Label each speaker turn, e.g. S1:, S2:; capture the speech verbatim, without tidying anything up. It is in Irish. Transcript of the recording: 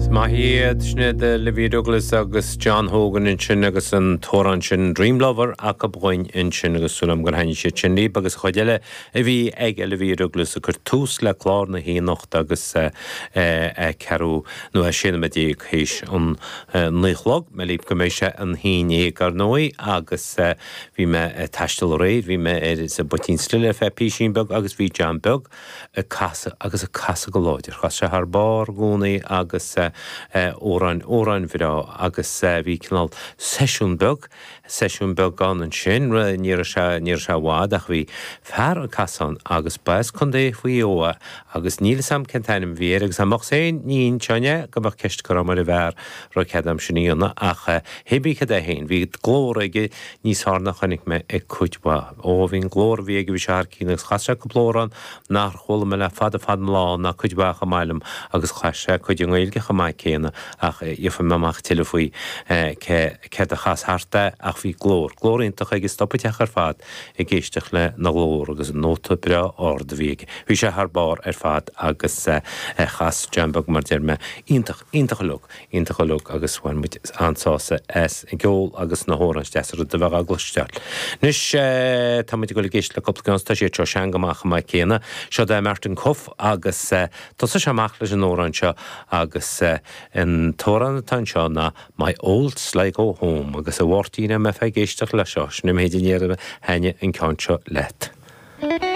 S1: Maith iad sin Olivia Douglas agus John Hogan ansin agus an t-amhrán sin Dream Lover acu dhúinn ansin agus súil agam gur thaitnigh sé sin libh agus chuid eile a bhí ag Olivia Douglas a chur tús le clár na hanocht agus ceathrú nó a sé nóiméad déag théis an naoi a chlog me líb go mbeidh sé an haon déag ar ndóigh agus bhí mé ag taisteal aréir, bhí mé ar sa bPoitín Stil ar feadh píosín beag agus bhí John Beag ag casadh agus ag casadh go láidir. Chas sé thar barr i gcónaí agus amhráin amhráin bhreá agus bhí cineál seisiún beag, seisiún beag ann ansin, ní raibh sé ní raibh sé i bhfad ach bhí fear ag casadh ann agus ba as Contae Mhaigh Eo é agus níl 'fhios a'm cén t-ainm a bhí air agus amach féin ní inseoinn é go mbeadh ceist curtha agam ar an bhfear raibh cead a'm sin a dhéanamh ach hé bith cad é féin bhí glór aige níos fearr ná chonaic mé ag cuid mhaith. Ó bhí an glór a bhí aige bhí sé thar cionn agus chas sé cúpla amhrán nár chuala mé le fada fada an lá ná cuid mhaith chomh maith liom agus chas sé cuid i nGaeilge chomh maith céanna ach gheobhaidh mé amach tuilleadh faoi cé céard a chas thart é ach bhí glór, glór iontach aige stop an teach ar fad ag éisteacht le na ghlór agus an nóta breá ard a bhí aige. Bhí sé thar barr ar fad agus chas John Beag mar deir mé iontach, iontach uilig, iontach uilig agus bhain muid an-sásamh as an gceol agus na hamhráin is deasa rud a bheith á gcloisteáil. Anois tá muid ag dul ag éisteacht le cúpla ceann tá siad seo sean go maith chomh maith céanna. Seo é Martin Cuffe agus thosaigh sé amach leis an amhrán seo agus an t-amhrán atá anseo ná My Old Sligo Home agus a Mháirtín a mbeifeá ag éisteacht leis seo, sin an méid a déarfainn an ceann seo leat.